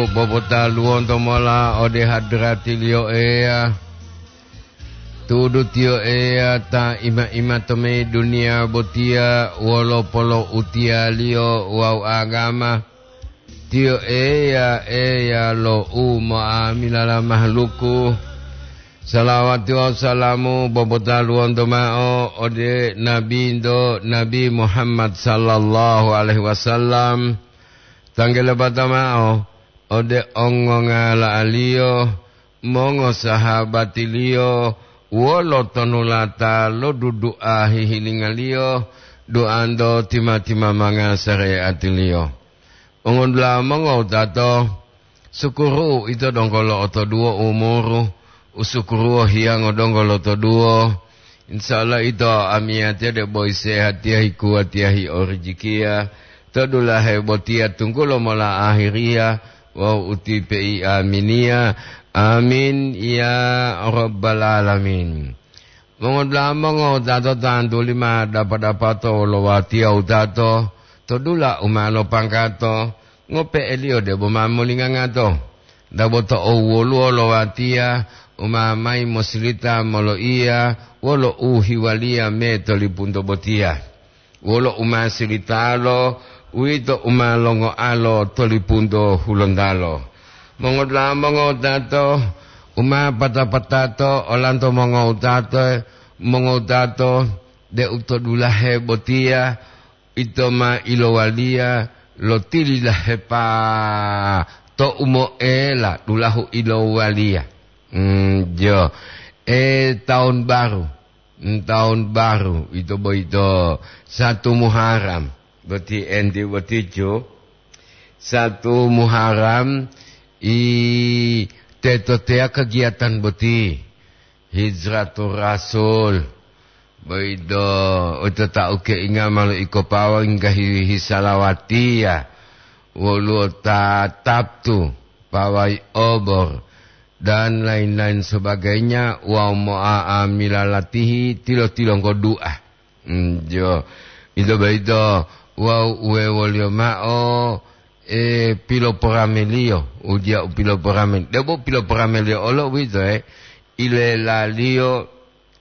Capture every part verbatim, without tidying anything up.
Bobotaluwonto mola ode hadratiliyo Eya, tu'udu tiyo Eya ta ima-ima to mayi duniya botiya wolo poloutiyaliyo wawu agama. Tiyo Eya, Eya lo umo'amilala mahaluku. Salawati wawu salamu bobotaluwonto ma'o ode Nabinto, Nabi Muhammad sallallahu alaihi wasallam. Tanggelebata ma'o ode ongongala'aliyo, mongosahabatiliyo, wolo tonulata lo dudu'a hihilingaliyo, duanto tima-timamanga sare'atiliyo. Mongodula'a mongowutato, sukuru ito donggo lo'otoduwo umuru, usukuruwo hiyango donggo lotoduwo. Insya Allah ito amiyatiya debo sehatiya, hikuwatiya, hiorijikiya to dulahe botiya tunggulo mola ahiriya wawu utipe'i aminiya. Amin ya rabbal alamin. Mongodula'a mongowutato, tantuli ma dapa-dapato wolo watiya wutato to dula u ma lopangkato, ngope'eliyo debo ma molingangato. Dabo to owoluwo lo watiya u ma mayi mosilita moloiya wolo uhiwaliya me to lipunto botiya. Wolo u ma silitalo, uwito u ma longoalo to lipunto hulontalo. Mongodula'a mongowutato, u ma pata-patato olanto mongowutato, mongowutato, deu to dulahe botiya ito ma ilowaliya lo tililahepa to umoela dulahu ilowaliya. Mm, jo. E, tahun baru. Mm, tahun baru, ito boyito satu Muharram. Boti enti boticu, satu Muharram, i teto teya kegiatan boti. Hijratur Rasul. Boyito, oto tau keinga malo iko pawa inggahi hisalawatiya. Woluwo ta taptu, pawai obor, dan lain-lain sebagainya, wawu mo'a'amila latihi tilo-tilonggo du'a. Mm, jo. Ito boyito, wawu uwewoliyo ma'o, e, piloporameliyo, ujiya u piloporame-, debo piloporameliyo olo uwito, e, ilelaliyo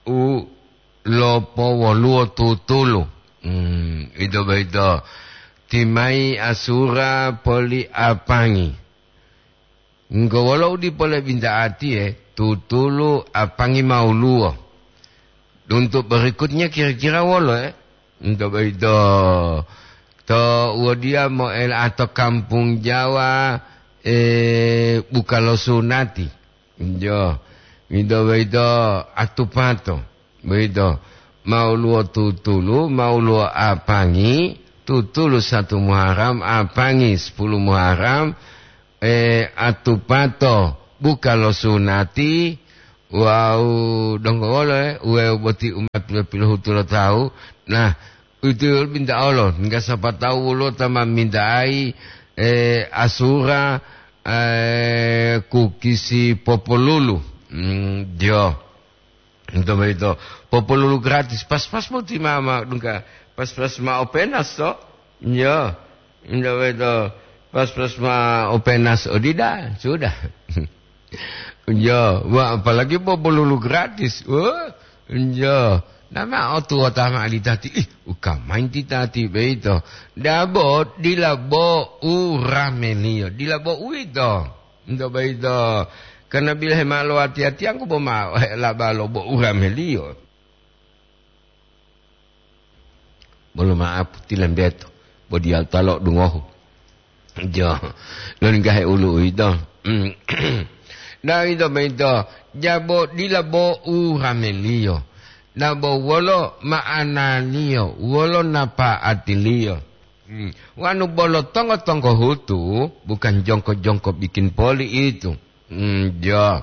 u lopowoluwo tutulu. Mm, ito boyito, timayi asura poli apangi. Enggo wolo u dipo lebinta'atiye, tutulu apangi ma woluwo. Untuk berikutnya kira-kira wolo, e? Untuk boyito, to wodiya moela to kampung Jawa, e, buka lo sunati. Jo, ito boyito atupato. Boyito, ma woluwo tutulu, ma woluwo apangi, tutulu satu Muharram, apangi sepuluh Muharram, e, atupato buka lo sunati, wawu donggo wolo, e, uwewu boti umat pilohutu lo tawu. Nah, uwito binta'olo, nggak siapa tahu woluwo ta ma minta'ai, e, asura, e, kukisi popolulu. Mm, jo. Ito boyito, popolulu gratis, pas-pas boti mama, dungka pas-pas ma openas to. Yo, ito boyito, pas-pas ma openas odida, sudah. Yo, wah, apalagi popolulu gratis. Wah, yo, nama otuwota ma alitati, ih, ukamain titati boyito. Dabo, dila bo u rameliyo, dila bo uwito. Ito boyito, karna bilahe ma lowati-atiyangku bo ma laba lo bo urameliyo. Bolo ma'apu tilembeto, bo diyalu ta lo'odungohu. Jo, loninggahe ulu uwito. Mm. Nah, ito boyito, jabo dila bo urameliyo. Nah, bo wolo ma'analiyo, wolo napa'atiliyo. Hmm. Wanu bolo tonggo-tonggo hutu, bukan jongko-jongko bikin poli itu. Hmm, jo.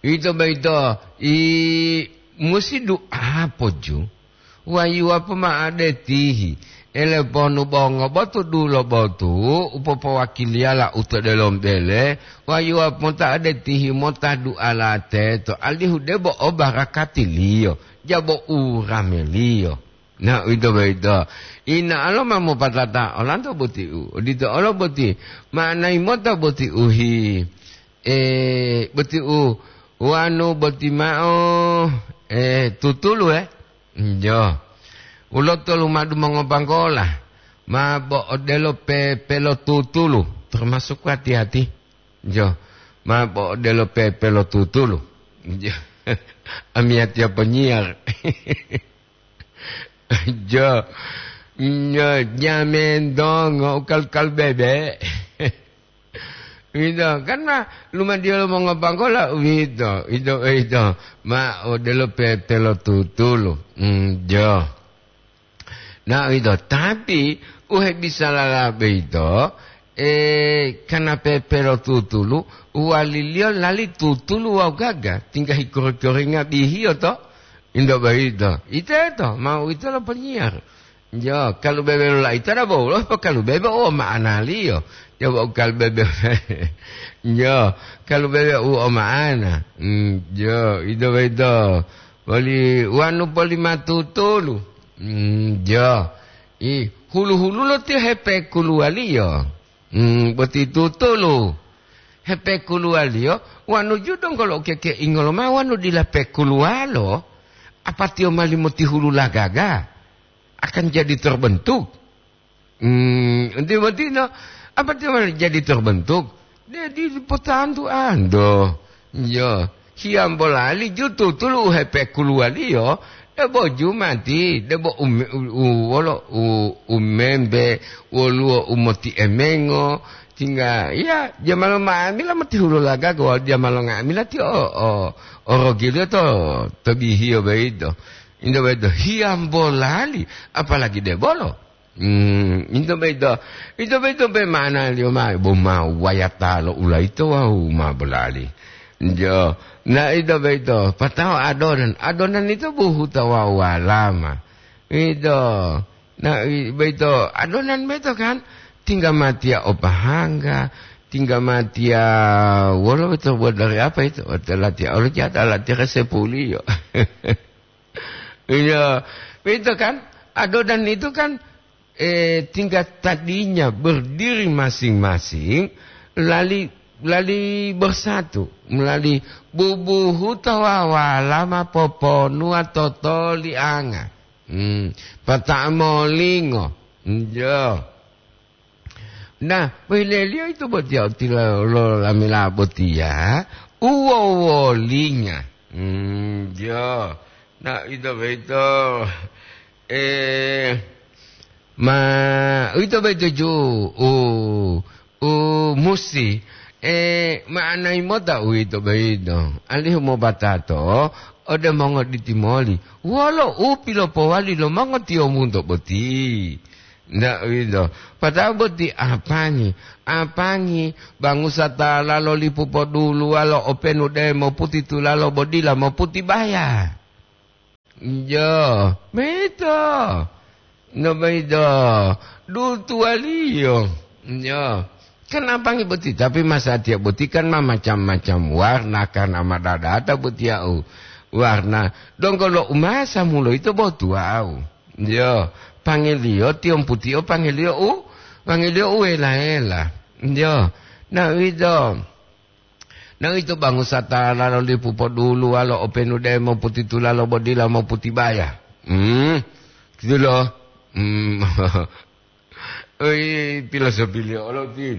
Ito boyito, i musi du'a poju, wayuwa pomao ode tihi, ele ponu bongo botu dulo botu, u popowakiliyala u to delomo bele, wayuwa mota ode tihi mota du'a la teto, alihu debo o barakatiliyo, jabo urameliyo. Na uwito boyito, ina'alo ma mopatata olanto boti u, odito olo boti, ma'anayi mota boti uhi, e, boti u wanu boti mao, e, tutulu, e? Njo. Uloto lumadu mongopanggola, ma bo odelo pepelotutulu, termasuk hati-hati. Njo. Ma bo odelo pepelotutulu. Njo. Amiyatiya ponyiyar. Jo, nyo, jamen dongo, ukal-ukal bebe. Wito, kan ma, lumadiyo lo mongopanggola, wito, wito, wito. Ma, odelo pepelotutulu. Mm, jo. Na, wito, tapi, uhebisalala boyito, e, kana pepelotutulu, uwaliliyo lali tutulu wawu gaga, tingga hikori-koringa bihiyo to. Into boyito, iteto ma uwito lo ponyiyar. Jo, kalubebe lo laita dabo wolo, po kalubebe u o ma'analiyo. Jo, bo kalubebe, jo, kalubebe u o ma'ana. Mm, jo, ito boyito. Woli wanu poli matutulu. Mm, jo. I, hulu-hululo tiyo hepekuluwaliyo. Hmm, boti tutulu. Hepekuluwaliyo, wanu ju donggo lo ukekeingo lomao wanu dila pekuluwalo, apatiyo mali motihulu lagaga, akan jadi terbentuk. Hmm, enti botino, apatiyo mali jadi terbentuk? Dedi potantu ando. Yo. Hiyambo lali ju tutulu u hepekuluwaliyo, debo jumati, debo ume-, u-, u-, wolo u-, umembe, woluwo u motiemengo, tingga, ya, jamalo nga'amila motihulu lagaga wawu jamalo nga'amila tiyo o, o, orogiliyo to, to bihiyo boyito. Into boyito, hiyambo lali, apalagi debolo. Hmm, ito boyito, ito boyito pe ma'analiyo ma, bo ma wayata lo ulayito wawu ma bolali. Jo, na ito boyito, patao adonan, adonan ito buhuta wawu walama. Ito, na i-, boyito, adonan boyito kan, tingga matiya o pahangga, tingga matiya wolo boyito buat dari apa ito? Latiya olo jata, latiya resepuliyo. Iya, itu kan, adonan itu kan, eh, tingkat tadinya berdiri masing-masing, lali, lali bersatu, melali bubuhu tawawa lama poponuwa totolianga. Hmm, pata'a molingo. Iya. Nah, boyileliyo ito botiya u tilo-, lo lamila botiya, u wowolinga. Hmm, jo. Nah, ito boyito, eh, ma, ito boyito ju, u, u musi, eh, ma'anayi mota uwito boyito. Alihu mobatato, ode mongoditi moli. Wolo u pilopowali lo mongotiyombunto boti? Ndak uwito. Pata'o boti apangi, apangi, bangusa ta lalo lipu poduluwalo openu de moputitulalo bo dila moputibaya. Jo, boyito. No boyito, dutuwaliyo. Jo. Kan apangi boti, tapi masatiya boti kan ma macam-macam warna, karna ma dadata botiya u warna. Donggo lo umasa muloyito bo tuwawu. Yo, pangiliyo tiyomputiyo, pangiliyo u, pangiliyo u wela-wela. Yo, na uwito, na uwito bangusa ta lalo lipu poduluwalo openu de moputitulalo bo dila moputibaya. Hmm, gitu lo. Hmm. Oi, filosofiliyo olo ti.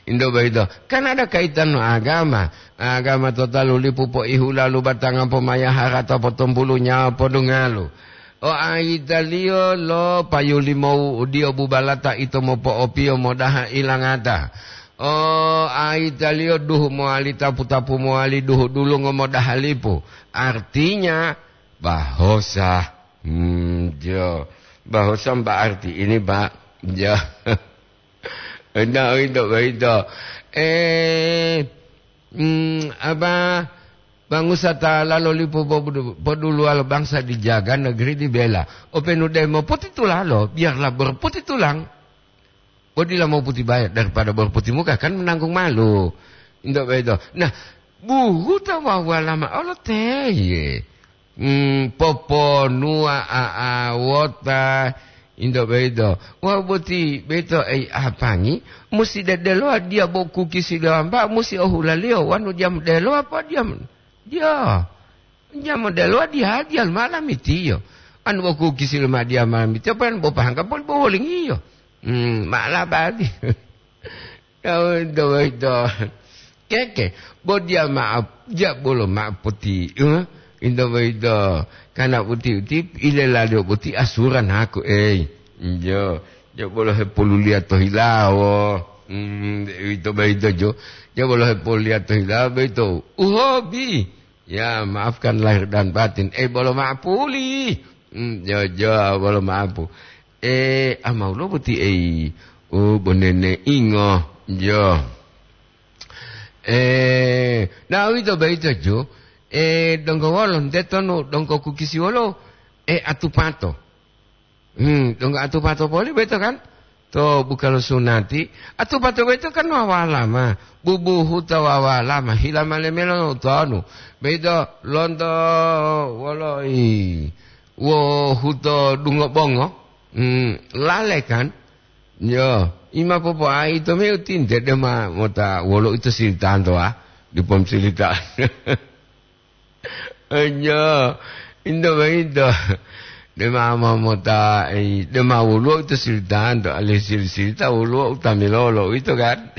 Into boyito, kan ada kaitan lo agama. Agama to talu lipu poihu lalu batanga pomaya harata potompulu nyawa podungalu. O ayitaliyo lo payu limou udiyo bubalata ito mopo'opiyo modaha ilangata. O ayitaliyo duhu mowali tapu-tapu mowali duhu dulungo modaha lipu. Artinya, bahosa. Hmm, jo. Bahosa berarti ini, Pak. Jo. Nah, uwito boyito. Eh, mm, apa, bangusa ta lalo lipu pobudu-, poduluwalo bangsa dijaga, negeri dibela. Openu de moputitulalo, biarlah berputitulang. Bo dila moputibaya daripada berputimuka, kan menanggung malu. Into boyito. Nah, buhuta wawu walama olo teye. mm, poponuwa a'awota, into boyito. Wawu boti boyito ei apangi, musi dedelowa diya bo kukisi lo wambao, musi ohulaliyo, wanu diyamu delowa po diyamu, diya, diyamu delowa diya, diya lomala mitiyo. Anu bo kukisi lomadiya ma mitiyo, pan bo pahangga poli bo wolingiyo. Hmm, ma'alabadi. Tawu into boyito. Keke, bo diya ma'o, diya bolo ma'o poti, eh? Into boyito. Kana boti uti, ilelaliyo boti asuran haku, ei. Iyo, diya bolo hepoluliya to hilawo. Hmm, uwito boyito jo. Diya bolo hepoluliya to hilawo boyito. Uhobi. Ya, maafkan lahir dan batin. Eh, bolo ma'o puli. Hmm, jo, jo, bolo ma'o pu. Eh, amawulo boti ei, oh, bonene ingo, jo. Eh, na uwito boyito ju, eh, donggo wolo, nte tonu donggo kukisi wolo, eh, atupato. Hmm, donggo atupato poli boyito kan? To buka lo sunati, atupato boyito kan wawalama, bubuhuta wawalama, hilama lemelo tonu. Boyito lonto wolo i, wo huto dungo bongo, hmm, lale kan? Yo, ima popo'ai to meu tinte dema mota wolo ito silitanto, ah, dipo silita. Enyo, into boyito. Dema mo mota, eh, dema woluwo ito silitanto, ale sili-silita woluwo utamilolo, ito kan?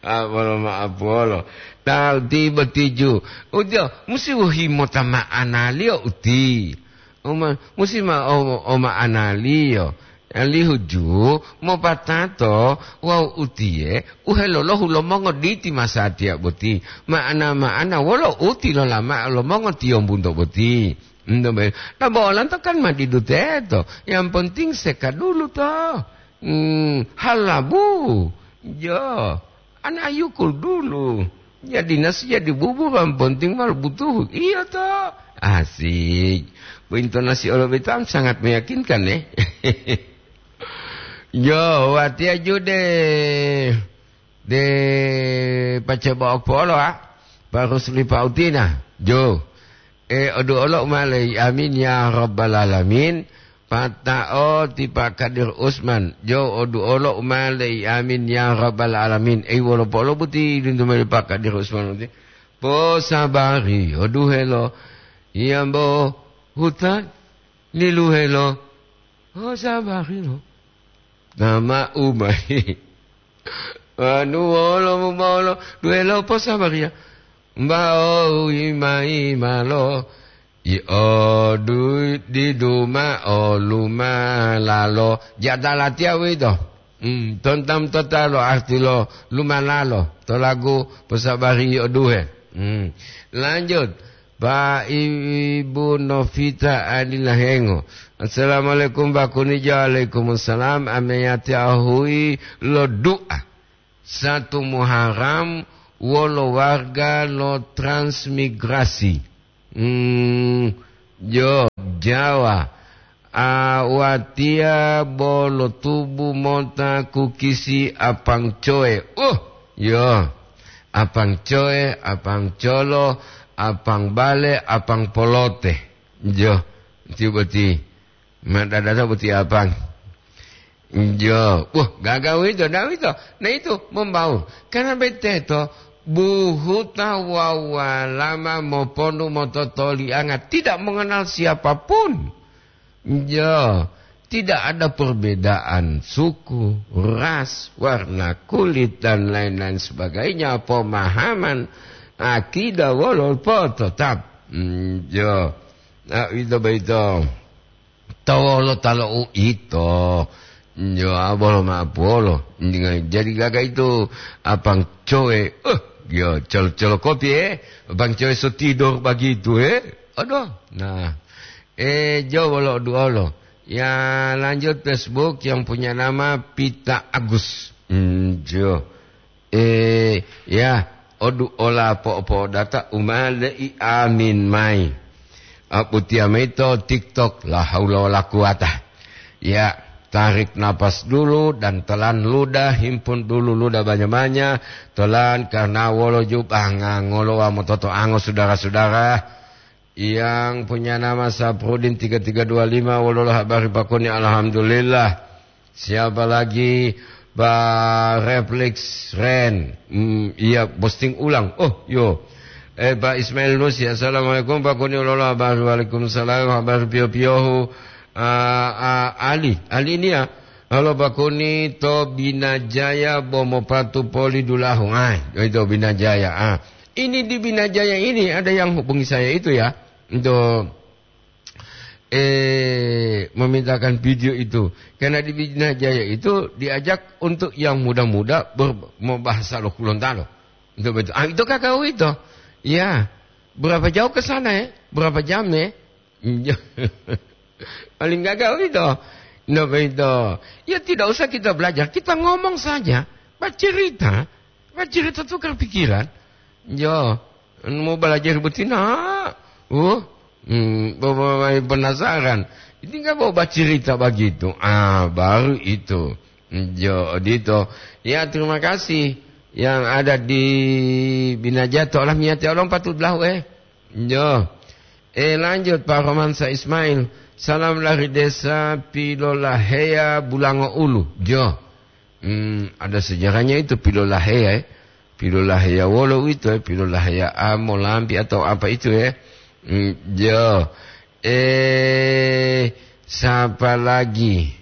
Ah, bolo ma'o polo. Ta uti botiju. Ujo, musi wohi mota ma'analiyo uti. Oma-, musi ma-, o-, o ma'analiyo. Alihu ju mopatato wawu utiye u helolohu lo mongoditi masatiya boti. Ma'ana-ma'ana wolo uti lolama lo mongotiyombunto boti. Nto be-, ta bo olanto kan ma didu teto. Yang penting seka dulu to. Hmm, halabu. Jo. Ana yukul dulu. Jadi nasi jadi bubur, yang penting mal butuh. Iya to. Asik. Bu intonasi olo betam sangat meyakinkan, eh. Yo, watiya jude. De pace bo'ok polo, ah. Barus lipa utina. Jo. E, odu olo umalei. Amin ya rabbal alamin. Pata'o ti Pak Kadir Usman, jo odu olo umalei. Amin ya rabbal alamin. Ei, wolo polo buti lintu meli Pak Kadir Usman buti. Posabari oduhelo. Iyambo hutan liluhelo. Posabari lo. Nama umai. Anu wolo mumolo duhelo posabariya. Mbao ima-imalo. Iyodu didu ma'o lumalalo. Jata latiya uwito. Hmm, tontam tota lo arti lo lumalalo. To lagu posabari iyoduhe. Hmm. Lanjut. Pak Ibu Novita Adila Hengo. Assalamualaikum, Pak Kunijo. Waalaikumsalam. Ameyati ahui lo du'a. Satu Muharram wolo warga lo transmigrasi. Hmm, jo, Jawa. A, watiya bolo tubu mota kukisi apang coe. Uh, yo. Apang coe, apang colo, apang bale, apang polote. Jo, ti boti. Madadata boti apang. Jo, wah, gaga uwito, nda uwito. Nah, itu membaur. Karena beteto, buhuta wawu walama mopondu mototolianga, tidak mengenal siapapun. Jo, tidak ada perbedaan suku, ras, warna kulit, dan lain-lain sebagainya, pemahaman, akidah, wolo po tetap. Hmm, jo. Nah, itu begitu. Tawolo talo uito. Yo, abolo ma'o puwolo. Jadi gaga itu apang cowe. Eh, yo, colo-colo kopi, eh. Apang cowe so tidor begitu, eh. Aduh. Nah. Eh, jo wolo duolo. Ya, lanjut Facebook yang punya nama Pita Agus. Hmm, jo. Eh, ya, odu ola po'o-po'odata u ma le'i amin mayi. Aputiya mayi to TikTok, la haula wala quwata. Ya, tarik napas dulu dan telan ludah, himpun dulu ludah banyak-banyak, telan karena wolo jubah ngangolowa mototoango sudara-sudara. Yang punya nama Saprudin tiga tiga dua lima, wololo habari Pak Kuni? Alhamdulillah. Siapa lagi? Pak Refleks Ren. Hmm, iya, posting ulang. Oh, yo. Eh, Pak Ismail Nusi, "Assalamualaikum, Pak Kuni, wololo habari?" Waalaikumsalam, habari pio-piohu. Ah, ah, Ali, Ali ini ya. "Halo, Pak Kuni, to Binajaya bo mopatu poli dulahu." Ah, itu Binajaya. Ah, ini di Binajaya ini ada yang hubungi saya itu ya. Untuk, eh, memintakan video itu. Karena di Binajaya itu diajak untuk yang muda-muda ber-, mau bahasa lo Gorontalo. Untuk betul. Ah, itu kakak itu. Ya. Berapa jauh ke sana, ya? Berapa jam, ya? Paling gagal itu. Nah, begitu. Ya, tidak usah kita belajar, kita ngomong saja. Bercerita. Bercerita tukar pikiran. Yo, mau belajar betina. Uh, hmm, bo-, bo-, bo-, penasaran. Ini nggak mau bercerita begitu. Ah, baru itu. Yo, dito. Ya, terima kasih yang ada di Binajato. Alah, miyate olong patut lahu, eh. Yo. Eh, lanjut, Pak Romansa Ismail. "Salam dari Desa Pilolahea, Bulango Ulu." Yo. Hmm, ada sejarahnya itu Pilolahea, eh. Pilolahea wolo itu, eh. Pilolahea Amo, Lampi atau apa itu, eh. Hmm, yo. Eh, siapa lagi?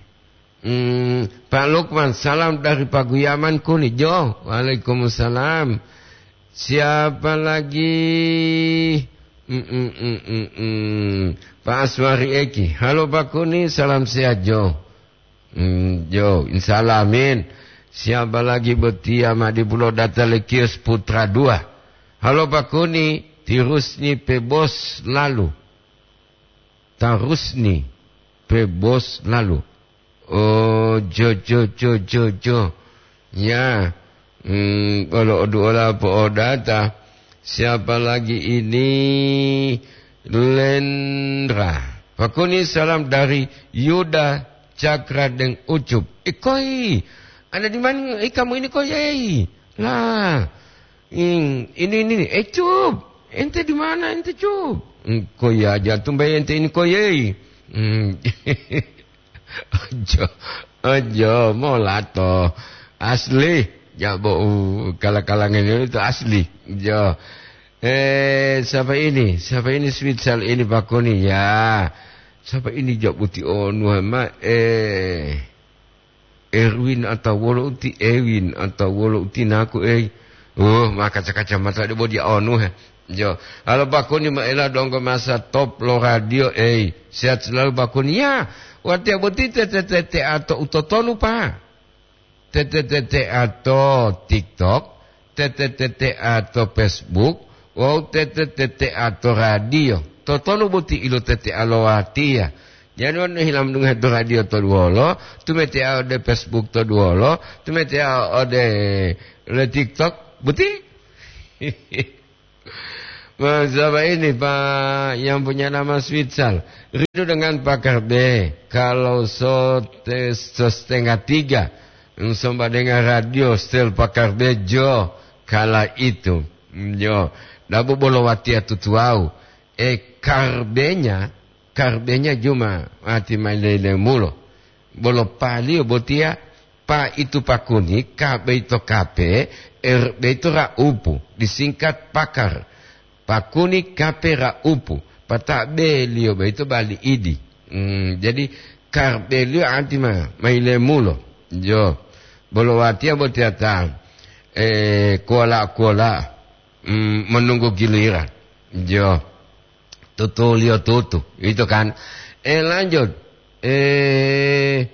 Hmm, Pak Lukman, salam dari Paguyaman Kuni. Jo, waalaikumsalam. Siapa lagi? Mm, mm, mm, mm, mm. Pak Aswari Eki. "Halo, Pak Kuni, salam sehat, Jo." Hmm, Jo, insyaallah, amin. Siapa lagi? Botia Madipulo, data Lekios Putra dua. "Halo, Pak Kuni, tirusni pe bos lalu." Tarusni pe bos lalu. Oh, jo, jo, jo, jo, jo. Ya, hmm, kalau oduola po'odata, siapa lagi ini? Lendra. "Pak Kuni, salam dari Yuda Cakra deng Ucup." Eh, koi, ada di mana, eh, kamu ini, koi, eh? Lah, Hmm, ini, ini, eh, Cup, ente di mana ente, Cup? Hmm, koi aja tumbai ente ini, koi, eh. Hmm. Ojo, ojo, molato. Asli, ya, bo, uh, kala-kalangan itu asli. Jo. Eh, siapa ini? Siapa ini Switsal ini, Pak Kuni? Ya. Siapa ini, Jabuti Onu, ma? Eh. Erwin atau wolo uti Ewin atau wolo uti naku, ei. Oh, ma kaca-kacamata de bodi onu he. Jo, halo Pak Kuni, maela donggo masa top lo radio, ei. Sehat selalu, Pak Kuni. Ya, watiya boti tete-tete ato utotonu, Pak. Tete-tete ato TikTok, tete-tete ato Facebook, wawu tete-tete ato radio. Totonu boti ilotete alowatiya. Jadi wonu hilam dungohe to radio to duwolo, tumetea ode Facebook to duwolo, tumetea ode le TikTok, boti? Masaba ini, Pak, yang punya nama Switsal. Rindu dengan Pakar B. Kalau so-, te-, so-, setengah tiga, somba dengan radio, setel Pakar B, jo, kala itu. Jo, dabu bolo watiya tutuwau. E, karbenya, karbenya juma, ati maile-lemulo. Bolo paliyo botiya, pa itu Pakuni, ka beito kape, er beito ra'upu, disingkat Pakar. Pakuni kape ra'upu, pata beliyo boyito bali idi. Hmm, jadi karbeliyo anti ma, mayilemulo. Jo. Bolo watiya botiya ta, eh, kuwala-kuwala, hmm, menunggu giliran. Jo. Tutuliyo tutu, gitu kan. Eh, lanjut. Eh,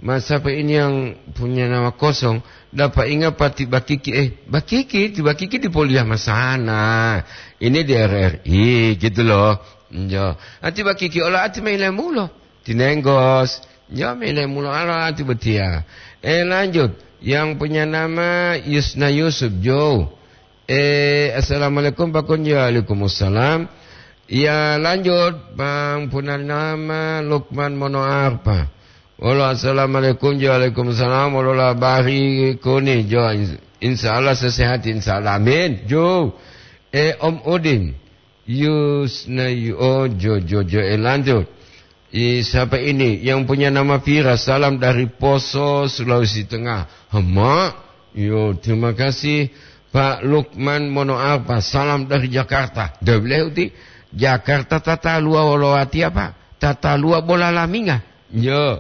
Mas, siapa ini yang punya nama kosong? Dapat ingat Pak Tibakiki. Eh, Bakiki, Tibakiki di Poliah Masana. Ini di R R I, gitu loh. Jo. Ati Bakiki, ola ati maile mulo. Tinenggos. Jo, maile mulo, ala ati betia. Eh, lanjut. Yang punya nama Yusna Yusuf, Jo. Eh, assalamualaikum, Pak Kun. Ya, waalaikumsalam. Ya, lanjut, Bang Purnama Lukman Monoarpa. Halo, assalamualaikum. Ya, waalaikumsalam. Halo, labari Kuni, Jo. Ins-, insya Allah sehat, insya Allah. Amin. Jo. Eh, Om Udin. Yusna, yo, jo, jo, jo, eh, lanjut. I, siapa ini yang punya nama Fira? Salam dari Poso, Sulawesi Tengah. Hema, yo, terima kasih, Pak Lukman Monoarfa. Salam dari Jakarta. Dah boleh uti. Jakarta tata lua wolowati apa? Tata lua bola laminga. Yo.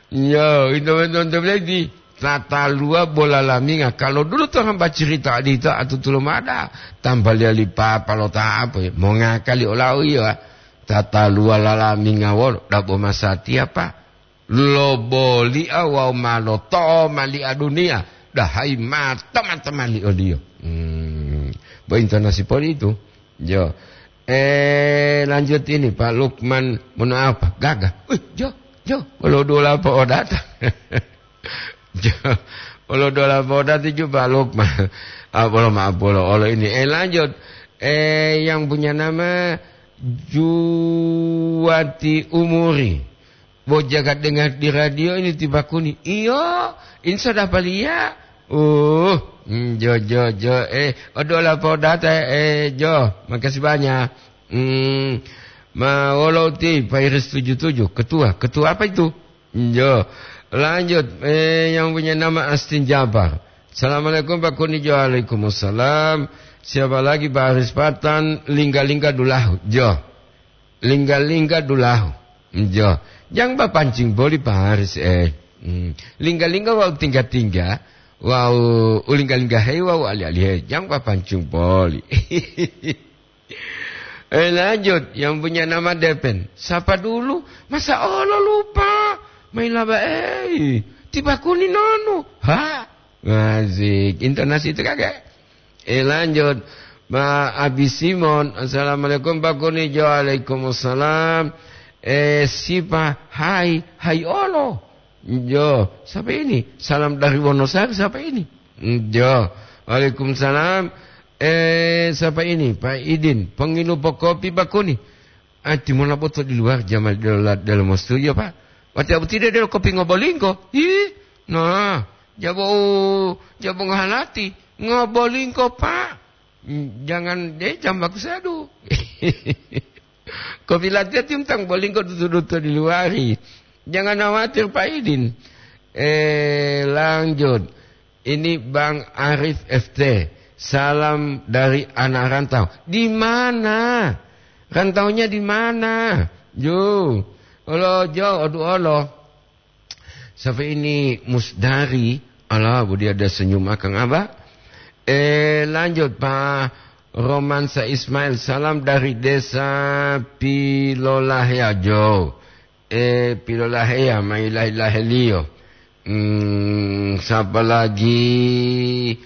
Yo, ito betul-betul lagi. Tata lua bola laminga. Kalau dulu tuh hamba cerita di itu atu tulumada. Tambah liali papa lo ta apa ya? Mau ngakali olau iya. Tata lua lalaminga wolo. Dabo masati apa? Lo boli awau malo to mali a dunia. Dahai mata-mata mali oliyo. Hmm. Bo intonasi poli itu. Yo. Eh, lanjut ini, Pak Lukman. Mohon apa? Gagah. Wih, jo, jo. Kalau dola apa odata? Jo. Kalau dola apa odata juga, Pak Lukman. Ah, bolo maaf, bolo. Olo ini. Eh, lanjut. Eh, yang punya nama Juwati Umuri. Bo jaga dengar di radio ini ti Bakuni. Iyo, ini sudah palia. Uh, hmm, jo, jo, jo. Eh, odola podata, eh, jo. Makasih banyak. Hmm, ma wolo ti Pak Iris tujuh tujuh, ketua. Ketua apa itu? Jo. Lanjut, eh, yang punya nama Astin Jabar. Assalamualaikum Pak Kuni. Jo, waalaikumsalam. Siapa lagi Pak Haris Patan? Lingga-lingga dulahu. Jo. Lingga-lingga dulahu. Jo. Jang ba pancing boli Pak Haris, eh. Hmm. Lingga-lingga wau tingga-tingga, wau ulingga-lingga hei wau ali-ali hei. Jang ba pancing boli. Eh, lanjut, yang punya nama Depen. Sapa dulu? Masa olo lupa? Main laba, eh. Tiba Kuni nonu. Ha? Asik. Intonasi itu kagak? Eh, lanjut. Ma Abi Simon. Assalamualaikum, Pak Kuni. Jo, waalaikumsalam. Eh, sipa, hai, hai olo. Jo, siapa ini? Salam dari Wonosari, siapa ini? Jo, waalaikumsalam. Eh, siapa ini? Pak Idin. Pengilu kopi, Pak Kuni. Ah, timona boto di luar, jama dalam, dalam studio, Pak. Wati abu tidak ada kopi ngobolingko. Ih, nah, jabo, jabo ngohalati. Ngobolingko, Pak. Jangan deh, jam bagus aduh. Kopi latte tim tang bolingko dutu-dutu di luari. Jangan khawatir, Pak Idin. Eh, lanjut. Ini Bang Arif F T. Salam dari anak rantau. Di mana? Rantaunya di mana? Yo. Olo, jo, odu olo. Siapa ini? Musdari. Alah, bu dia ada senyum akang abah. Eh, lanjut, Pak Romansa Ismail. Salam dari Desa Pilolahea, Jo. Eh, Pilolahea, mailahi-laheliyo. Hmm, siapa lagi?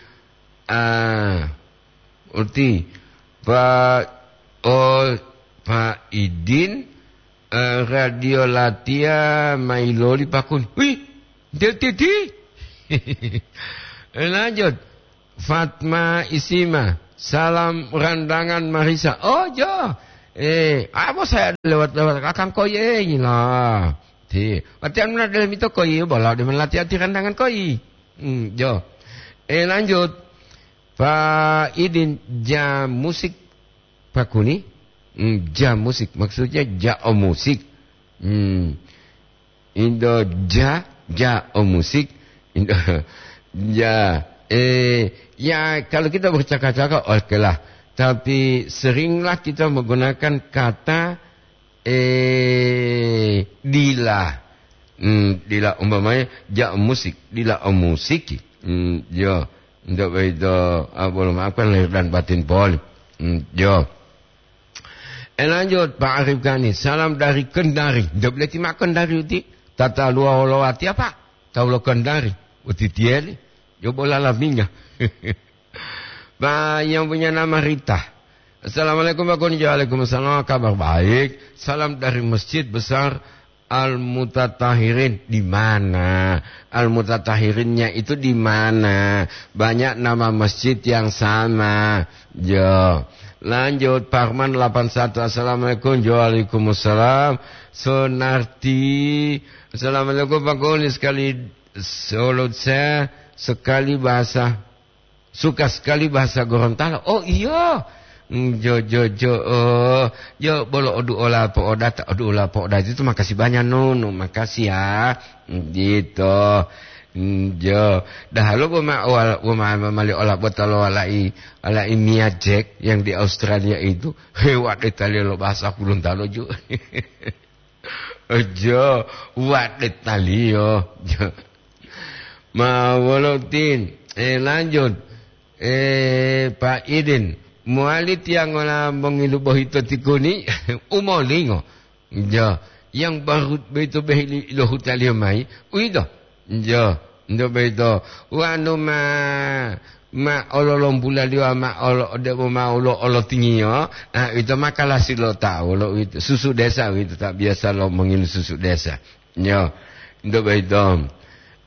Ah, uti. Pak, oh, Pak Idin, eh, Radio Latia mailoli Pak Kuni. Wih, dia titi. Eh, lanjut. Fatma Isima, salam randangan Marisa. Oh, jo. Eh, abo saya lewat-lewat kakang koi, eh, gila. Ti, latihan mana dalam itu koi, bola di mana latihan di randangan koi. Hmm, jo. Eh, lanjut. Pak Idin, ja musik Pak Kuni. Hmm, ja musik, maksudnya ja o musik. Hmm. Indo ja, ja o musik. Indo ja, eh, ya, kalau kita bercakap-cakap, oke lah. Tapi seringlah kita menggunakan kata, eh, dila. Hmm, dila umpamanya ja o musik, dila o musiki. Hmm, yo. Untuk itu, ah, boleh maafkan lahir dan batin poli. Hmm, yo. Eh, lanjut, Pak Arif Gani. Salam dari Kendari. Ndak boleh timak Kendari uti. Tata lua wolowati apa? Tahu lo Kendari. Uti tieli. Yo bola laminga. Pak, yang punya nama Rita. Assalamualaikum, Pak Kuni. Waalaikumsalam. Kabar baik. Salam dari Masjid Besar Al-Mutatahirin. Di mana? Al-Mutatahirinnya itu di mana? Banyak nama masjid yang sama. Jo. Lanjut, Parman delapan satu. Assalamualaikum. Jo, waalaikumsalam. Sonarti. Assalamualaikum, Pak Kuni. Sekali, salam saya sekali bahasa, suka sekali bahasa Gorontalo. Oh, iya. Mm, jo, jo, jo, oh. Jo, bolo oduola po'odata, oduola po'odata itu makasih banyak, Nunu. Makasih ya. Mm, gitu. Mm, jo. Dahalo boma, wala-, boma mali ola botalo walai, walai Mia Jack yang di Australia itu. Hewa detali lo bahasa Gorontalo ju. Ojo, wadet taliyo. Ma wolo tin. Eh, lanjut. Eh, Pak Idin, mowali tiyangola mongilu bohito tikuni? Umolingo. Jo, yang baru boyito behili lo hutaliyo mayi, uwito. Jo, nto boyito. Wanu ma, ma ololombulaliyo ma olo, debo ma olo, olotingiyo, ah, ito ma kalasi lo tawu lo uwito. Susu desa uwito, ta biasa lo mongilu susu desa. Yo, nto boyito.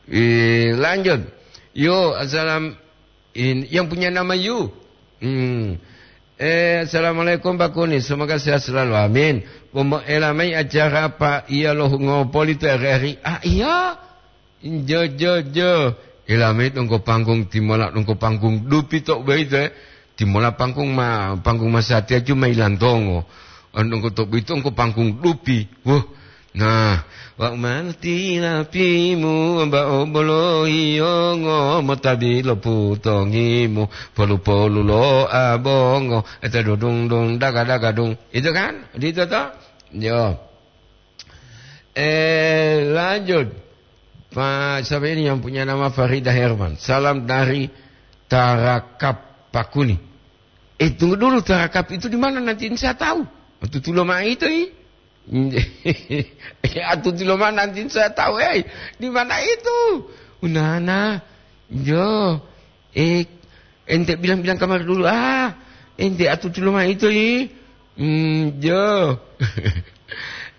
Eh, lanjut. Yo, assalam-, in-, yang punya nama Yu. Hmm. Eh, assalamualaikum Pak Kuni, semoga sehat selalu. Amin. Pomo-, ela mayi acara apa iya lo ngopoli to R R I? Ah, iya. Jo, jo, jo. Ela mayi donggo panggung timola, donggo panggung dupi to boyito, eh. Timola panggung ma, panggung masatiya cuma ilantongo. Donggo to boyito donggo panggung dupi. Wah. Nah, wa umanti lapimu, mba'o bolo yiyongo, motabi lo putongimu, polu-polu lo abongo, eta dudung dung, daga-daga dung. Itu kan? Itu toh? Yo. Eh, lanjut. Pak, siapa ini yang punya nama Farida Herman? Salam dari Tarakap Pakuni. Eh, tunggu dulu, Tarakap itu di mana? Nanti saya tahu. Tutulo mah itu, i. Atutulo mah nanti saya tahu, eh. Di mana itu? Unana. Jo. Eh, ente bilang-bilang kamar dulu. Ah, ente atutulo mah itu, i. Hmm, jo.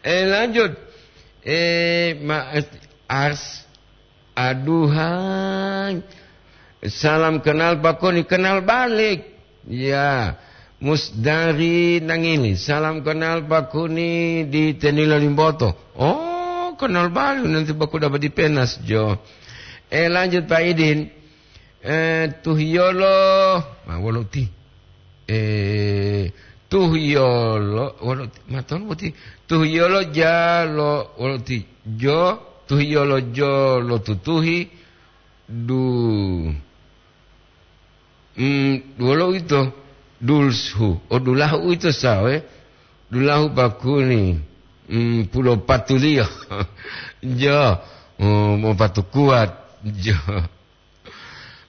Eh, lanjut. Eh, ma-, Ars-, aduhai. Salam kenal Pak Koni, kenal balik. Ya. Musdari Nangili, salam kenal Pak Kuni di Tenilo Limboto. Oh, kenal balik nanti Pak Kuni dapat di Penas, jo. Eh, lanjut Pak Idin. Eh, tuhiyolo, ma wolo ti. Eh, tuhiyolo, wolo ti, ma tonu boti. Tuhiyolo jalo, wolo ti. Jo, tuhiyolo jolo tutuhi. Du. Hmm, wolo ito. Dulshu. O dulahu ito sawe. Dulahu Pak Kuni. Hmm, pulo patuliyo. Jo. Oh, mau patu kuat. Jo.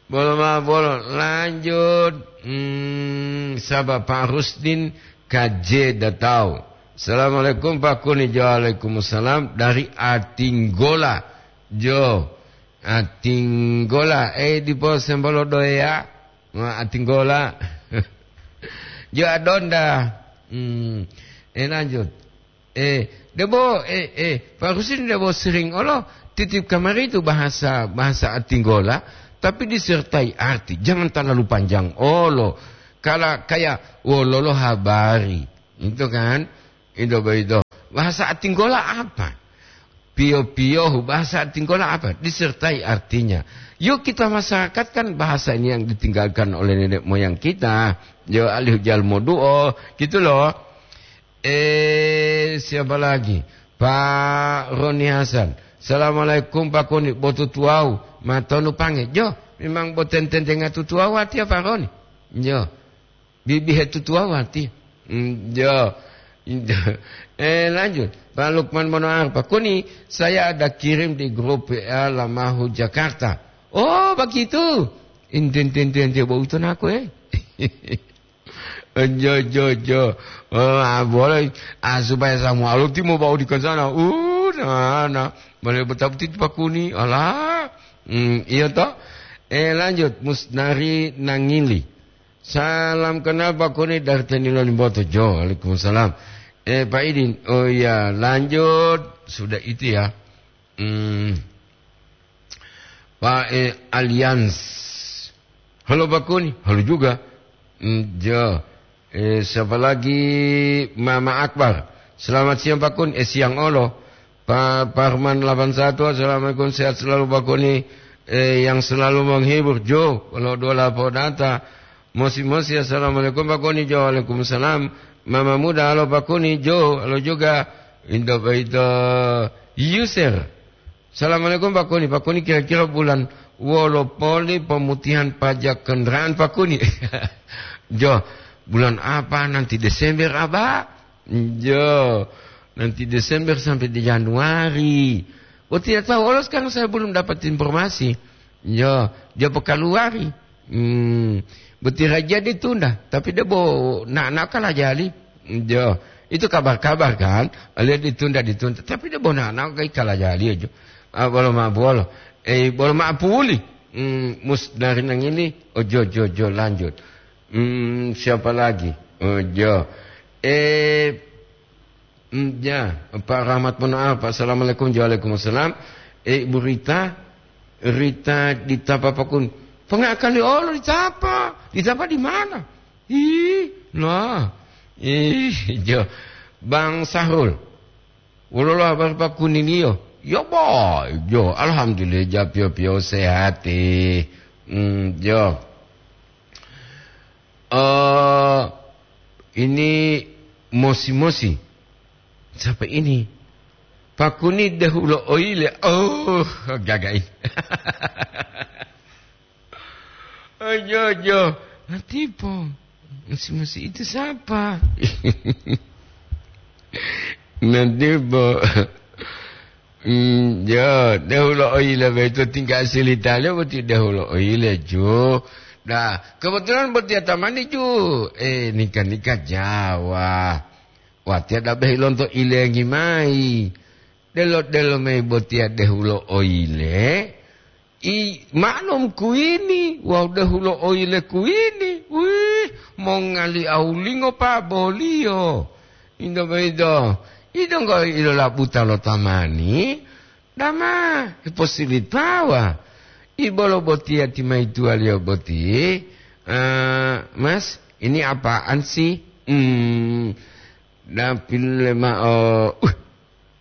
Bolo ma bolo, lanjut. Hmm, saba Pak Rusdin K J Datau. Assalamualaikum Pak Kuni. Jo, waalaikumsalam dari Atinggola. Jo, Atinggola. Eh, dipo sembolo doya. Wah, Atinggola. Jo, Adonda. Hmm, eh, lanjut. Eh, debo, eh, eh, Pak Rusdin debo sering olo titip kamari itu bahasa, bahasa Atinggola, tapi disertai arti. Jangan terlalu panjang olo. Kala kayak wololo habari. Itu kan? Itu begitu. Bahasa Atinggola apa? Piyo-piyohu, bahasa Atinggola apa? Disertai artinya. Yuk kita masyarakat kan bahasa ini yang ditinggalkan oleh nenek moyang kita. Yo alih jalmo duo, gitu loh. Eh, siapa lagi? Pak Roni Hasan. Assalamualaikum, Pak Koni. Botu tuwau. Matonu pange. Jo, memang boten tentenga tutuwau artinya, Pak Roni. Jo. Bibihe tutuwau artinya. Hmm, jo. Eh, lanjut. Pak Lukman Monoar, Pak Koni, saya ada kirim di grup W A Lamahu Jakarta. Oh, begitu. Inten, ten, ten, ten, bau itu naku, eh. Jo, jo, jo. Oh, ah, boleh. Ah, supaya semua lo timo bau di sana. Uh, nah, nah. Boleh betul-betul Pak Kuni. Alah. Hmm, iya toh. Eh, lanjut. Musnari Nangili. Salam kenal Pak Kuni dari Tenilo Limboto. Jo, waalaikumsalam. Eh, Pak Idin. Oh iya, lanjut. Sudah itu ya. Hmm. Pak, eh, Allianz. Halo Pak Kuni, halo juga. Hmm, jo. Eh, siapa lagi? Mama Akbar. Selamat siang Pak Kuni. Eh, siang olo. Pak Parman delapan satu, assalamualaikum, sehat selalu Pak Kuni. Eh, yang selalu menghibur. Jo, kalau dua lapor data. Mosi-mosi, assalamualaikum Pak Kuni. Jo, waalaikumsalam. Mama muda, halo Pak Kuni. Jo, halo juga. Indo baito Yusir. Assalamualaikum Pak Kuni. Pak Kuni, kira-kira bulan wolo poli pemutihan pajak kendaraan Pak Kuni? Jo, bulan apa nanti, Desember apa? Jo, nanti Desember sampai di Januari. Oh, tidak tahu. Oh, sekarang saya belum dapat informasi. Jo, dia pekaluari. Hmm, boti raja ditunda, tapi dia bo na na kalajali. Jo, itu kabar-kabar kan, lihat ditunda, ditunda, tapi dia bo na na kai kalajali aja. Ah, bolo ma bolo. Eh, bolo ma puli. Hmm, mus dari nang ini. Oh, jo, jo, jo, lanjut. Hmm, siapa lagi? Oh, jo. Eh, hmm, ya, Pak Rahmat Monaar, Pak. Assalamualaikum. Waalaikumsalam. Eh, Ibu Rita, Rita di Tapa Pakun. Pengakali olo di Tapa. Di Tapa di mana? Ih, nah. Ih, jo. Bang Sahrul. Wolo lo habar Pak Kuniniyo? Yo, boy. Jo, alhamdulillah, ja pio-pio sehat, eh. Hmm, jo. Eh, ini mosi-mosi. Siapa ini? Pakuni dehulo oile. Oh, gagai. Ojo, ojo. Natipo. Mosi-mosi itu siapa? Natipo. Hmm, ya, dehulo oile beto tinggal silitale boti dehulo oile, ju. Nah, kebetulan boti atamani, ju. Eh, nikah-nikah Jawa. Watiya dabehi lonto ilengi mayi. Delo-delo mayi botiya dehulo oile. I, maklum kuwini, wawu dehulo oile kuwini. Wih, mongali awulingo pa boliyo. Indo boyito, idonggo ilolabuta lo tamani, dama hiposilitawa. Ibolo botiya timayituwaliyo boti, eh, Mas, ini apaan sih? Hmm, dapil mao, uh,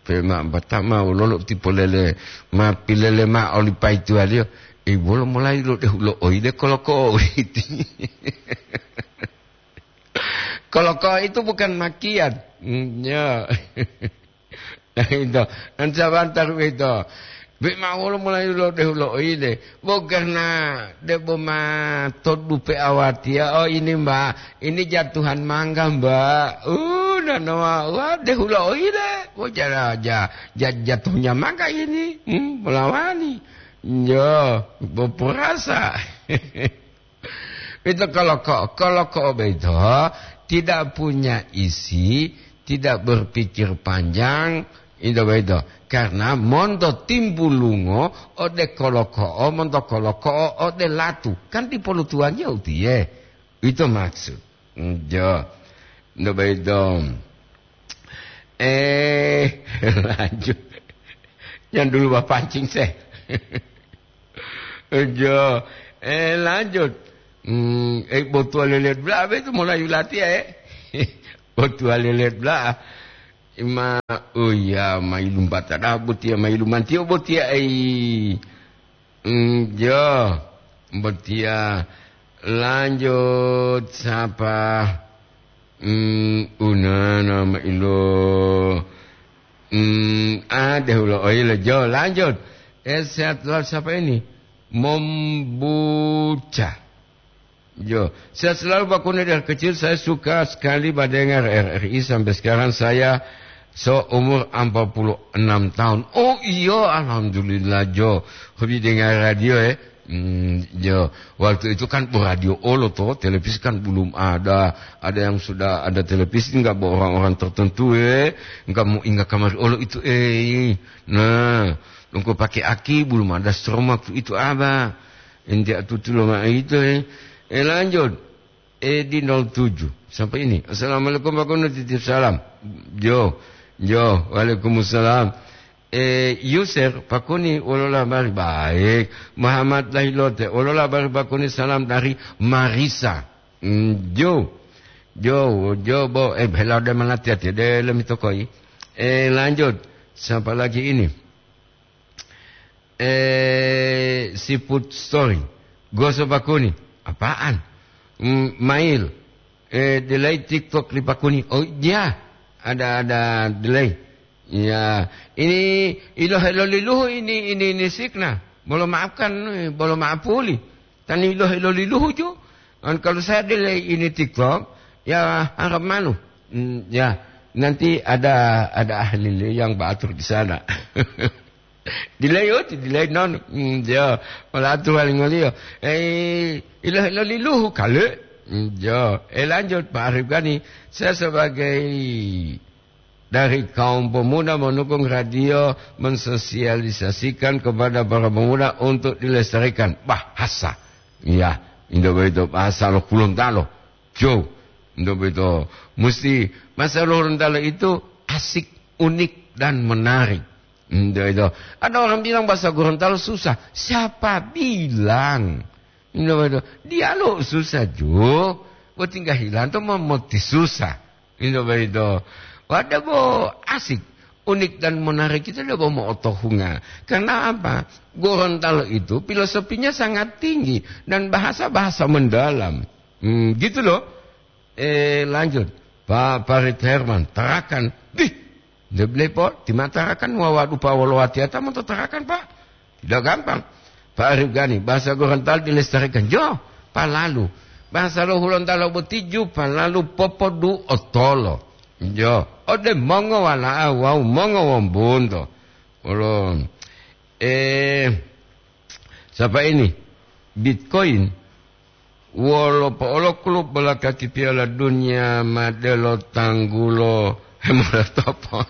pema batama wololo tipolele, ma pilele mao oli paituwaliyo, e, wolo molayi lo dehulo oide koloko uwiti. Koloko itu bukan makian. Mm, ya. Nah, itu. Nan sabantar itu. Be ma wolo molayi lo dehulo oide. Bo karena debo ma todupe awatiya, oh, ini, Mbak, ini jatuhan mangga, Mbak. Uh, nanowa, wah, dehulo oile. Wah, ja-, ja-, ja-, jatuhnya mangga ini. Hmm, melawani. Yo, beperasa. Itu koloko, koloko beto tidak punya isi, tidak berpikir panjang, itu beto. Karena monto timbulungo ode koloko'o, monto koloko'o ode latu. Kan dipolutuwaliyo utiye. Itu maksud. Njo. Njo beto. Eh, lanjut. Jangan dulu bapancing, seh. Njo. Eh, lanjut. Hmm, eh, botuwa lelet bla, beto mulai latiya, eh. Botuwa lelet bla. Ma, oh iya, mailu batada botiya, mailu mantiyo botiya, ei. Mm, jo, botiya. Lanjut, sapa? Mm, unana mailo. Mm, ah, dehulo oile, jo, lanjut. Eh, sehat selalu, siapa ini? Mombuca. Jo, sehat selalu Pak Kuni. Dari kecil saya suka sekali mendengar R R I, sampai sekarang saya seumur empat puluh enam tahun. Oh iya, alhamdulillah, jo. Hobi dengar radio, eh. Hmm, jo. Waktu itu kan radio olo toh, televisi kan belum ada. Ada yang sudah ada televisi, nggak buat orang-orang tertentu, eh. Nggak mau ingat kamar olo itu, eh. Nah, lungko pakai aki, belum ada strom waktu itu, apa. Ente atutu lo ma'o ito, eh. Eh, lanjut. Eh, di nol tujuh. Sampai ini. Assalamualaikum, Pak Kuni, titip salam. Jo, jo, waalaikumsalam. Eh, Yusir, Pak Kuni, wolo labari? Baik. Muhammad Lahilote, wolo labari, Pak Kuni? Salam dari Marisa. Mm, jo. Jo, jo, bo, eh, bela de manati ati, de lemi tokoi. Eh, lanjut. Siapa lagi ini? Eh, seafood story. Goso Pak Kuni. Apaan? mm, mail. Eh, delay TikTok li Pakuni. Oh, iya. Ada, ada delay. Ya, ini ilohe lo liluhu ini, ini, ini signa. Bolo maafkan, eh, bolo maafuli. Tani ilohe lo liluhu ju. Dan kalau saya delay ini TikTok, ya harap malu. Hmm, ya, nanti ada, ada ahli yang beratur di sana. Delay, oh, delay non. Hmm, ya, wala atu wali ngoliyo. Eh, ilohe lo liluhu kale. Hmm, ya, eh, lanjut Pak Arif Gani. Saya sebagai dari kaum pemuda mendukung radio mensosialisasikan kepada para pemuda untuk dilestarikan bahasa. Iya, indo boyito bahasa lo Gorontalo. Jo, indo boyito musti bahasa lo Gorontalo itu asik, unik, dan menarik. Indo itu. Ada orang bilang bahasa Gorontalo susah. Siapa bilang? Indo boyito. Dialog susah, Jo. Bo tinggal hilang to memoti susah. Ito boyito. Wah, debo asik, unik dan menarik itu debo mo'otohunga. Karena apa? Gorontalo itu filosofinya sangat tinggi dan bahasa-bahasa mendalam. Hmm, gitu loh. Eh, lanjut. Pak Farid Herman, Tarakan. Dih, de blepo, ti ma Tarakan wawa dupa wolo watiyata monto Tarakan, Pak. Tidak gampang. Pak Arif Gani, bahasa Gorontalo dilestarikan. Jo, palalu. Bahasa lo Hulontalo boti ju palalu popodu otolo. Jo, ode mongo wala'a wawu mongo wombunto. Olo, eh, sapa ini? Bitcoin. Wolo po'olo klub bola kaki Piala Dunia ma delo tanggulo hemolotopo.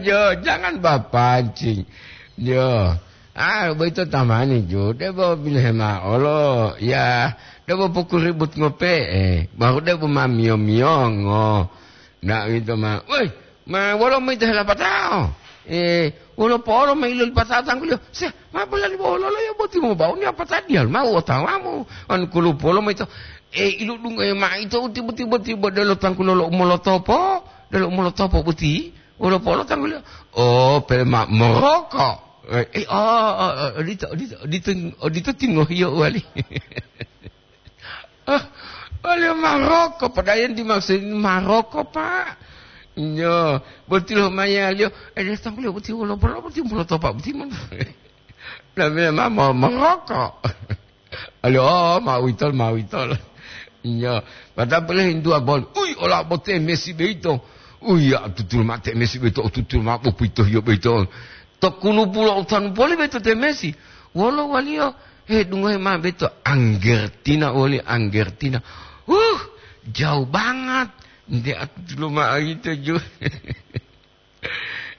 Jo, jangan bapancing. Jo. Ah, boyito tamani, Jo. Debo bilohe ma'o lo, ya, debo pokuribut ngope'e, baru debo ma miyo-miyongo. Ndak uwito ma, "Woi, ma wolo moyito helapatao? Eh, wolo po'olo ma ilolipatao tangguliyo?" Se, ma bolali wololo yo boti mo bauni apatadiya ma u otawamu? Anu kulupolo moyito, eh, iludungohe ma'o ito u tibo-tibo-tibo delo tanggulo lo umolotopo, delo umolotopo boti, wolo po'olo tangguliyo? Oh, pele ma moroko. Eh, eh, oh, oh, oh, odito, odito, odito, odito tingohiyo uwali. Ah, waliyo maroko, padahal yang dimaksud ini maroko, Pak. Nyo, boti lo mayaliyo, eh, dia tangguliyo boti wolo bolo boti mulo topa boti mon. Namanya ma-, ma-, maroko. Aliyo, oh, ma witol, ma witol. Nyo, padahal boleh hintu abon. Ui, ola bote Messi beito. Ui, ya, tutul mate Messi beito, tutul ma bopito yo beito. To kulupu lo utanu poli beito te Messi. Wolo waliyo, he, dungohe ma'o beto Anggertina woli Anggertina. Huh, jauh banget. Nde atu dulu ma'o ito ju.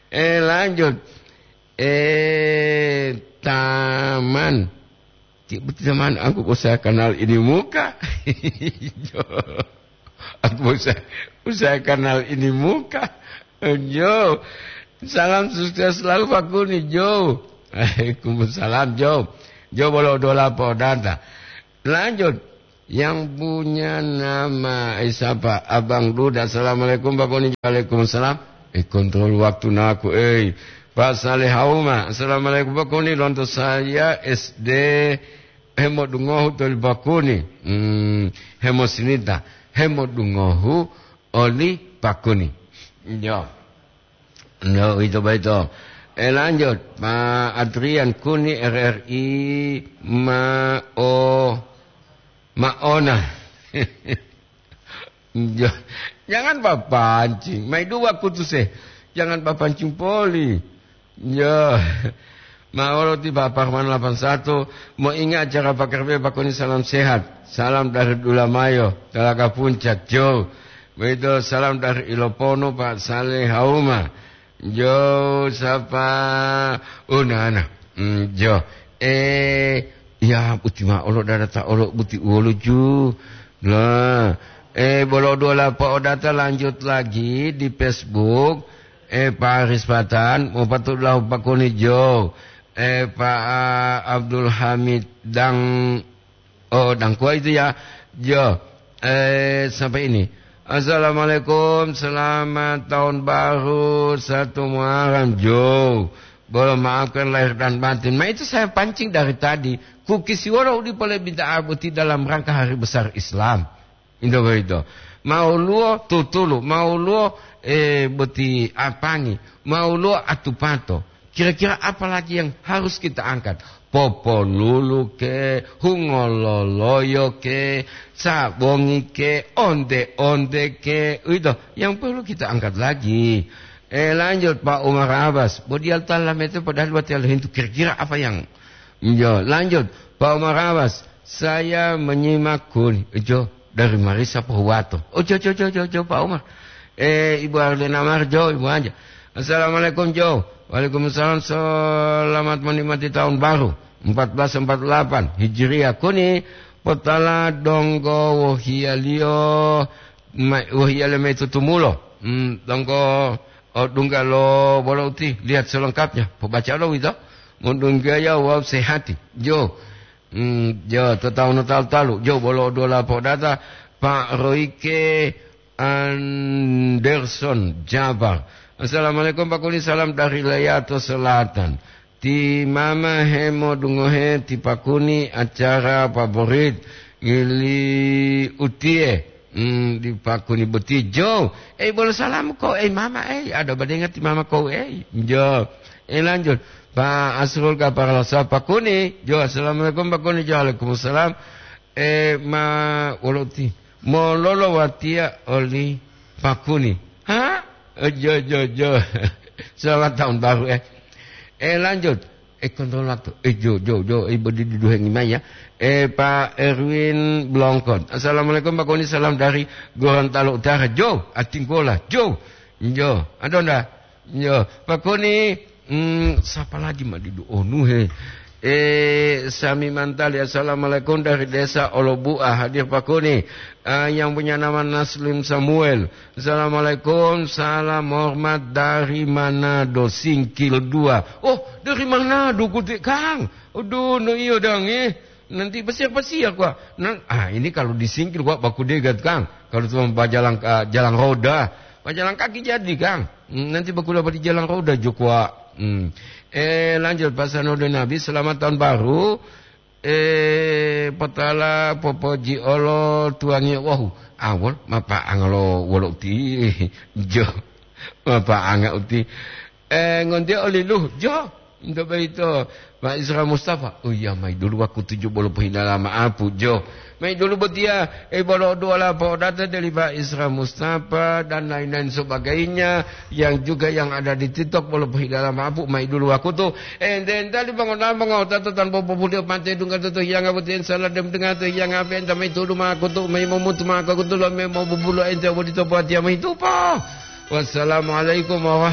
Eh, lanjut. Eh, taman. Ti-, taman, aku usaha kenal ini muka. Jo. Aku usaha, usaha kenal ini muka. Jo. Salam sukses selalu, Pak Kuni, Jo. Waalaikumsalam, Jo. Jo, bolo dola podanta. Lanjut. Yang punya nama, eh, siapa? Abang Duda. Assalamualaikum, Pak Kuni. Waalaikumsalam. Eh, kontrol waktu naku, eh. Pak Saleh Hauma. Assalamualaikum, Pak Kuni. Lonto saya S D hemodungohu toli Pak Kuni. Hmm, hemosinita. Hemodungohu oli Pak Kuni. Yo. No, itu baito. Eh, lanjut. Pak Adrian Kuni, R R I, ma-, o-, maona. Jo, jangan papancing. Mai dua kutuse. Jangan papancing poli. Jo. Ma'o lo ti Bapak Parman delapan satu, moingat acara Pakar Bebak Kuni, salam sehat. Salam dari Dulamayo, Talaga Puncak, Jo. Begitu salam dari Iloponu, Pak Saleh Hauma. Jo, sapa? Oh, nana. Hmm, jo. Eh, ya, boti ma'o lo dada ta olo boti uwolo ju. Nah, eh, bolo dua lapa odata lanjut lagi di Facebook. Eh, Pak Aris Patan, mau patut lahu Pak Kuni Jo. Eh, Pak, ah, Abdul Hamid Dang, oh, Dangkua itu ya. Jo, eh, sampai ini. Assalamualaikum, selamat tahun baru, satu Muharram, Jo. Bolo maafkan lahir dan batin. Ma itu saya pancing dari tadi. Kukisiwolo u dipo le bid'ah boti dalam rangka hari besar Islam. Itu begitu. Mauluo tutulu, mauluo, eh, boti apangi, mauluo atupato. Kira-kira apa lagi yang harus kita angkat? Poponulu ke, hungololoyo ke, sabongi ke, onde-onde ke. Itu yang perlu kita angkat lagi. Eh, lanjut, Pak Umar Abbas. Bo dia tala mete padahal buat dia hintu kira-kira apa yang. Yo, lanjut, Pak Umar Abbas. Saya menyimak kun. Jo, dari Marisa Pohuwato. Oh, jo, jo, jo, jo, jo, Pak Umar. Eh, Ibu Arlina Marjo, Ibu Anja. Assalamualaikum, Jo. Waalaikumsalam, selamat menikmati tahun baru empat belas empat delapan Hijriah. Kuni potala donggo wohiyaliyo, ma-, wohiyaliyo mayi tutumulo. Hmm, donggo, oh, dungga lo bolo uti, lihat selengkapnya. Pobaca lo wito. Modunggaya wawu sehati. Jo. Hmm, jo, to tawu no talu-talu. Jo, bolo dua lapor data, Pak Royke Anderson Jabar. Assalamualaikum, Pak Kuni, salam dari Leyato Selatan. Ti mama hemodungohe ti Pak Kuni acara favorit ngili utie. Hmm, di Pak Kuni boti, Jo. Eh, bolo salam ko, eh, mama, eh, ada badenga ti mama ko, eh, Jo. Eh, lanjut. Pak Asrul Kaparalosa Pak Kuni, Jo. Assalamualaikum, Pak Kuni, Jo. Waalaikumsalam. Eh, ma, wolo ti. Mololo watiya oli Pak Kuni. Ha? Eh, Jo, Jo, Jo. Selamat tahun baru, eh. Eh, lanjut. Eh, kontrol waktu. Eh, Jo, Jo, Jo. Eh, bodi duduhengi mai ya. Eh, Pak Erwin Blongkot. Assalamualaikum, Pak Kuni. Salam dari Gorontalo Utara. Jo, atinggola. Jo. Jo. Ada ndak? Jo. Pak Kuni, hmm, siapa lagi ma didu onu he? Eh, Sami Mantali. Assalamualaikum dari Desa Olobu'a. Hadir, Pak Kuni. Ah, yang punya nama Naslim Samuel. Assalamualaikum, salam hormat dari Manado, Singkil dua. Oh, dari Manado, Kutik, Kang. Aduh, no iyo dang, eh. Nanti besiak-besiak, Wak. Nan-, ah, ini kalau di Singkil, Wak, baku degat, Kang. Kalau cuma bajalan, ah, jalan roda. Bajalan kaki jadi, Kang. Hmm, nanti baku dapat di jalan roda, Jok, Wak. Hmm. Eh, lanjut, Pak Sanudin Nabi, selamat tahun baru. Eh, potala popoji olo tuwangi wahu. Awol, mapa'anga lo wolo uti. Jo. Mapa'anga uti. Eh, ngontiya oli luhu. Jo. Nto boyito, Pak Isra Mustafa. Oh iya, mayi dulu wakutu jo bolo pohidala ma'apu. Jo. Mayi dulu botiya, eh, bolo duwala po'odata deli Pak Isra Mustafa dan lain-lain sebagainya. Yang juga yang ada di TikTok, bolo pohidala ma'apu, mayi dulu wakutu. Ente entali bangon-bangon, tato tanpa populiyo pante dungga toto hiyanga boti, ensala dem denga to hiyanga ape enta mayi tudu ma'akutu, mayi momutu ma'akutu lo me mobubulo ente bodito buatiya mayi tupo. Wassalamualaikum warahmatullahi